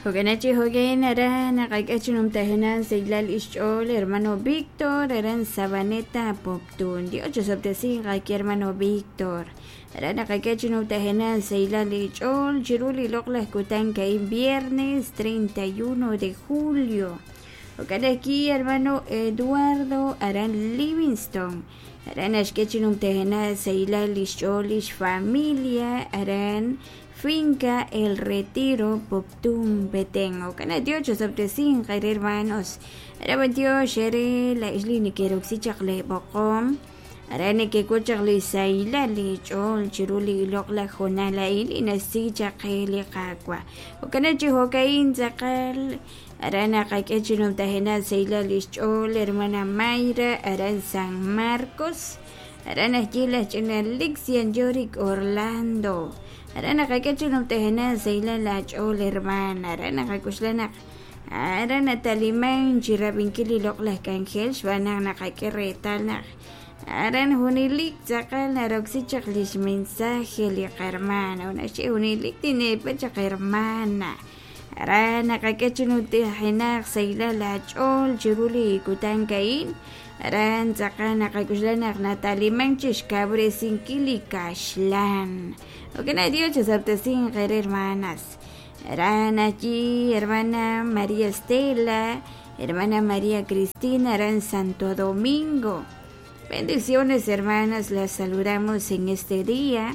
Jo'kanachi jo'kan aran naqak'e chi numtajenaq sahilal ixch'ool hermano Víctor aran Sabaneta Poptún. Dios chosob'tesinq aki hermano Víctor. Aran naqak'e chi numtajenaq sahilal ich'ool chiru li loq'laj kutan ka'in viernes 31 de julio. Jo'kan ajwi' hermano Eduardo aran Livingston. Aran naxk'e chi numtajenaq sahilal ixch'ool lix familia aran Finca El Retiro, Poptún, Petén. Jo'kan Dios chosob'tesinq eere hermanos. Aran Dios ere la ixli nekeroksi chaq leeb'oqom. Aran nekek'ul chaq li sahilal li ch'ool chiru li loq'laj hoonal a'in li nasi chaq qe li Qaawa'. Jo'kan chi jo'ka'in tz'aqal aran naqak'e chi numtajenaq sahilal lix ch'ool hermana Mayra aran San Marcos. Aran ajwi' laj ch'ina Lixian Yorick Orlando. Aran naqak'e chi numtajenaq sahilal aach'ool hermana. Aran naqak'oxla naq aran nataliman chi rab'inkil li loq'laj k'anjel xb'aan naq naqak'e reetal naq aran junelik tz'aqal naroksi chaq lix mensaje li qarmana naxye junelik tineepa chaq hermana. Aran naqak'e chi numtajenaq sahilal aach'ool chiru li kutan ka'in. Aran tz'aqal naqak'oxla naq nataliman chi xkawresinkil li kaxlan. Jo'kan Dios chosob'tesinq eere hermanas. Aran allí hermana María Estela, hermana María Cristina, aran Santo Domingo. Bendiciones hermanas, las saludamos en este día.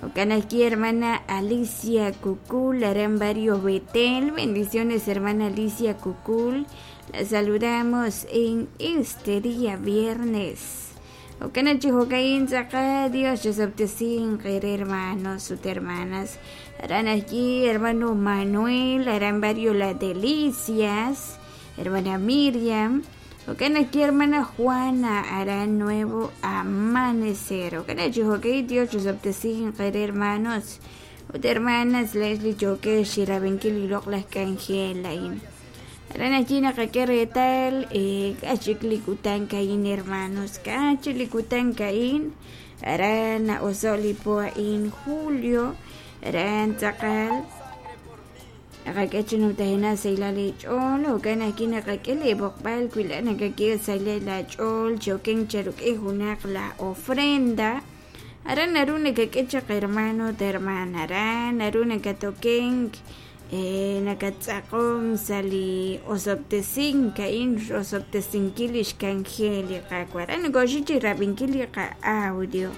Jo'kan aquí hermana Alicia Cucul, aran barrio Betel. Bendiciones hermana Alicia Cucul. La saludamos en este día viernes. Jo'kan chi jo'ka'in tz'aqal Dios chosob'tesinq eere hermanos ut hermanas. Aran allí hermano Manuel, aran barrio Las Delicias, hermana Miriam. Jo'kan aquí hermana Juana, aran Nuevo Amanecer. Jo'kan chi jo'ka'in Dios chosob'tesinq eere hermanos ut hermanas Leslie yokex chirab'inkil li loq'laj k'anjel a'in. Aran allí naqak'e reetal k'achik li kutan ka'in hermanos, k'achik li kutan ka'in aran na'oso' li po a'in julio, aran tz'aqal naqak'e chi numtajenaq sahilal ich'ool jo'kan ajwi' naqak'e li b'oqb'al wi la nakak'e sahilal aach'ool choken cheruk'in junaq la ofrenda. Aran naru nakak'e chaq hermano ut hermana, aran naru nakatokenk nakatz'aqom sa' li osob'tesink a'in osob'tesinkil lix k'anjel li Qaawa'. Aran nokoxik chi rab'inkil li qa'audio.